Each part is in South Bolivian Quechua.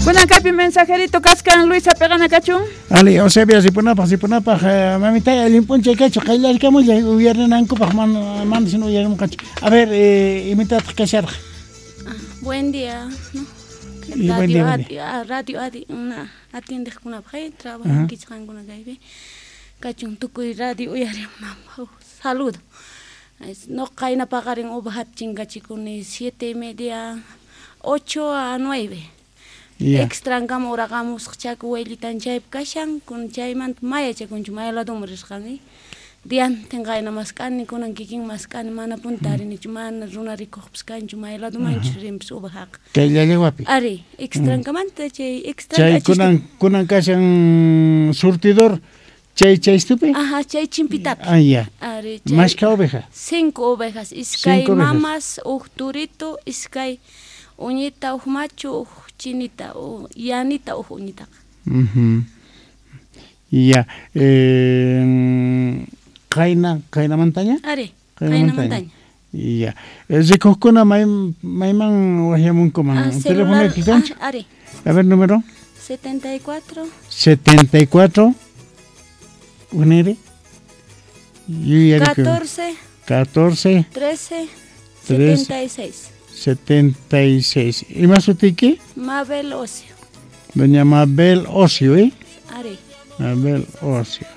Kunan kaypi mensajerito kaskan Luisa peqana kachun. Ali, Eusebia ripunapaq, ripunapaq, mamitay allin p'unchay kachu, qayllarikamullay uyarinankupaq mana mana sino uyarimunqachu. A ver, imatataq kasharqa? Buen día, ¿no? Y buen Radio día, buen ati, radio ati, una atiendeqkunapaq, trabajankichik qankuna kaypi. Kachun tukuy radio uyarimunanpaq. Saludo. No qayna paqarin ovejata chinkachikuni 7:30, 8 a 9. Ya. Extrankama uraqamusqa chaku wayllitan chaypi kashan, kun chaymanta mayachakunchu may ladoman risqani. Diantin qayna mask'ani, kunan kikin mask'ani, mana punta tarinichu, mana runa rikuqpas kanchu, may ladomanchus rinpis ovejaqa. Kay Llallawapi. Ari, extrankamanta chay extra Chay kunan kashan surtidor chay chaystupi? Ajá, chay chimpitapi. Ah, ya. Ari, chay. Mashka oveja. 5 ovejas, iskay 5 ovejas. mamas, uj turito, iskay uñita, uj machu, uj chinita, uj yanita, uj uñitaqa. Ya. Qayna, qaynamantaña? Ari, Qaynamantaña. qaynamantaña. Ya. Rikuqkuna mayman waqyamunkuman? Celular, Teléfono kanchu? ari. A ver, número. 74. 74. Unere. Yuyariku. 14. 14. 13. 13. 76. 76. ¿Y más sutiki? Mabel Ocio. Doña Mabel Ocio, ¿eh? Ari. Mabel Ocio.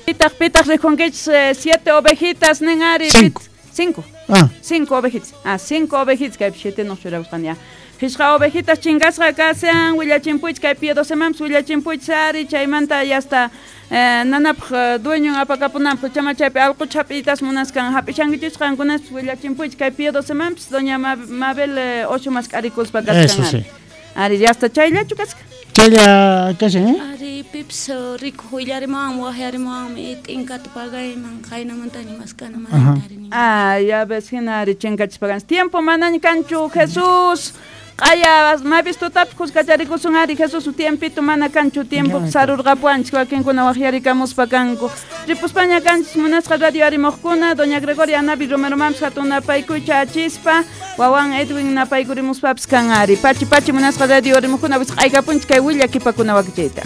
Pitaq, pitaq, rikunkichis, 7 ovejitas, nin ari. 5. 5. Ah. 5 ovejitas. Ah, 5 ovejitas, kaypi 7 no churabusqan ya. Phishqa ovejitas chingasqa kashan, willachinpuychis, kaypi 12 mampis willachinpuychis ari, chaymanta ya hasta nanapaq dueñon apakapunanpaq, chama chaypi allqucha hap'iytas munaskan, hap'ishankichis qankunaspis willachinpuychis, kaypi 12 mampis doña Mabel Ocio mask'arikuspa kashan Eso ari. sí. Ari, ya hasta chayllachu kasqa. Chaylla kashan, ¿eh? Ari, pips rikuq willarimuwanmi, waqyarimuwanmi, t'inkata pagayman, qaynamantaña mask'ana mana tarini. Ah, ya ves, hina ari chinkachispakanchis. Tiempo manaña kanchu, Jesús. Q'aya, mapis tutapi kuskacharikusun ari, Jesús, tiempito mana kanchu, tiempo Ya, sarurqapuanchis, wakinkuna waqyarikamuspa kanku. Ripuspaña kanchis munasqa radio arimuqkuna, doña Gregoria Anabi Romero mampis hatun napaykuycha achispa, wawan Edwin napaykurimuspapis kan ari. Pachi, pachi munasqa radio arimuqkuna, wisq'aykapunchis kay willakipakuna wakichayta.